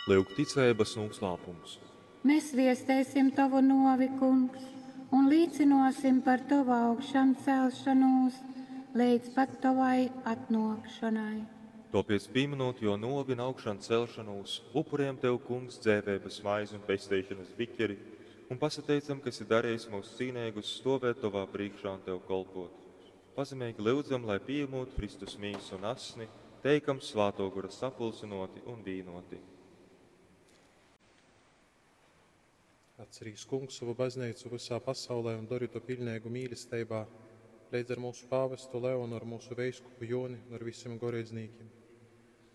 Lyuk ticeibas nūslāpums. Mēs viestēsim tovu nuovi, Kungs, un līcinosim par tovu augšancelšanos leidz pat tovai atnōkšanai. Tōpēc, pīminot jō nuovi un augšancelšanos, upurējam Tev, Kungs, dzeiveibas maizi un pesteišanas biķeri, un pasateicam, ka esi darījis mūs cīneigus stovēt Tovā priekšā un Tev kolpot. Pazemeigi lyudzam, lai pieņemot Kristus mīsu un asni, teikam Svātō Gora sapulcinoti un vīnoti. Atcerīs, Kungs, savu baznīcu visā pasaulē un dori to pilnīgu mīlestībā, leidz ar mūsu pāvestu Leonu, ar mūsu veiskupu Joni un ar visiem goreidznīkiem.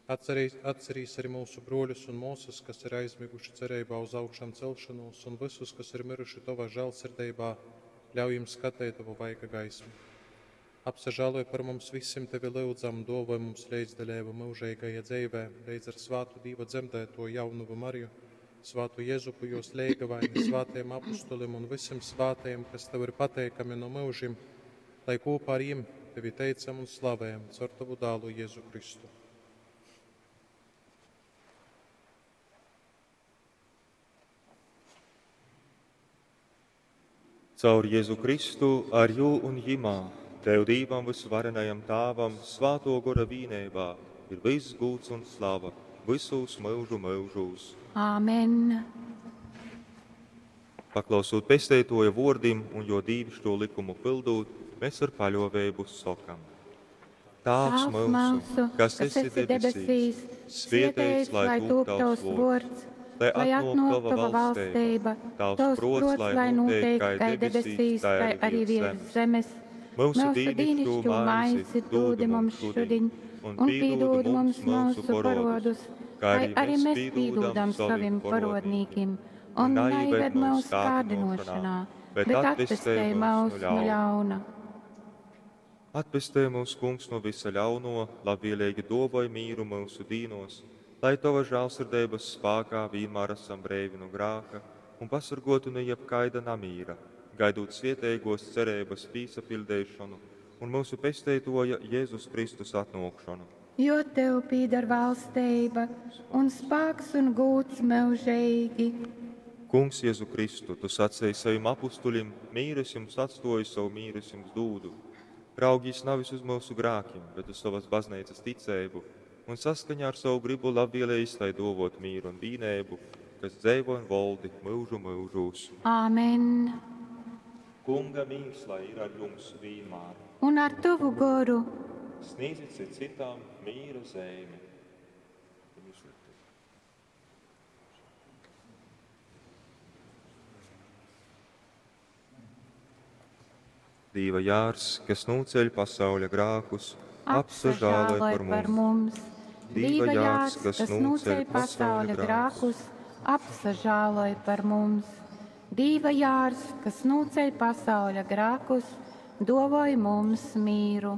Atcerīs, atcerīs arī mūsu broļus un māsas, kas ir aizmiguši cerībā uz augšām celšanos, un visus, kas ir miruši Tavā žēlsirdībā, ļauj jums skatīt Tavu vaiga gaismu. Apsažāloj par mums visiem Tevi lyudzam, dovoj mums līdzdaļību mūžīgajā dzīvē, līdz ar svātu Dīva dzemdēto jaunuvu Mariju, svātu Jezupu, jos leigavaini, svātajiem apustulim un visiem svātajiem, kas Tev ir pateikami no mūžim, lai kopā ar jiem Tevi teicam un slavējam caur Tavu dālu Jēzu Kristu. Caur Jēzu Kristu, ar jū un jimā, Tev Dīvam vysvarenajam Tāvam, Svāto Gora vīneibā, ir viss gūts un slava, visos mūžu mūžūs. Āmen. Paklausot pesteitoja vordim un jo dīvišķo likumu pildūt, mēs ar paļovēbu sokam. Tāvs mūsu, kas esi debesīs, svietēts, lai tūp tavs vords, lai atnāk tava valstība, tavs prots, lai notiek kai debesīs, tai arī virs zemes. Mūsu dīnišķo maizi dūdi mums šodien, un pīdūd mums mūsu parodus, kai arī mēs pīdūdam savim parodnīkim, un neived mūsu kārdinošanā, bet atpestē mūs no ļauna. Atpestē mūs, Kungs, no visa ļauno, labvēlīgi dovoj mīru mūsu dīnos, lai Tava žēlsirdības spākā vienmēr esam breivi no grāka un pasargoti no jebkaida namīra, gaidot svietēgos cerības pīsapildēšanu un mūsu pesteitoja Jēzus Kristus atnākšanu. Jo Tev pīdar valstība un spāks un gūts mūžīgi. Kungs, Jēzu Kristu, Tu sacīji saviem apustuļiem, mīru es jums atstoju, savu mīru es jums dūdu. Raugīs nevis uz mūsu grākiem, bet uz savas baznīcas ticēbu, un saskaņā ar savu gribu labvēlējis, lai dovot mīru un vīnēbu, kas dzēvo un voldi mūžu mūžūs. Āmen. Kunga mīrs, lai ir ar jums vienmēr. Un ar tavu goru. Sniedzit citām mīra zīmi. Dīva jārs, kas nūceļ pasauļa grākus, apsažāloj par par mums. mums. Dīva jārs, kas nūceļ pasauļa grākus, apsažāloj par mums. Dīva jārs, kas nūceļ pasauļa grākus, dovoj mums mīru.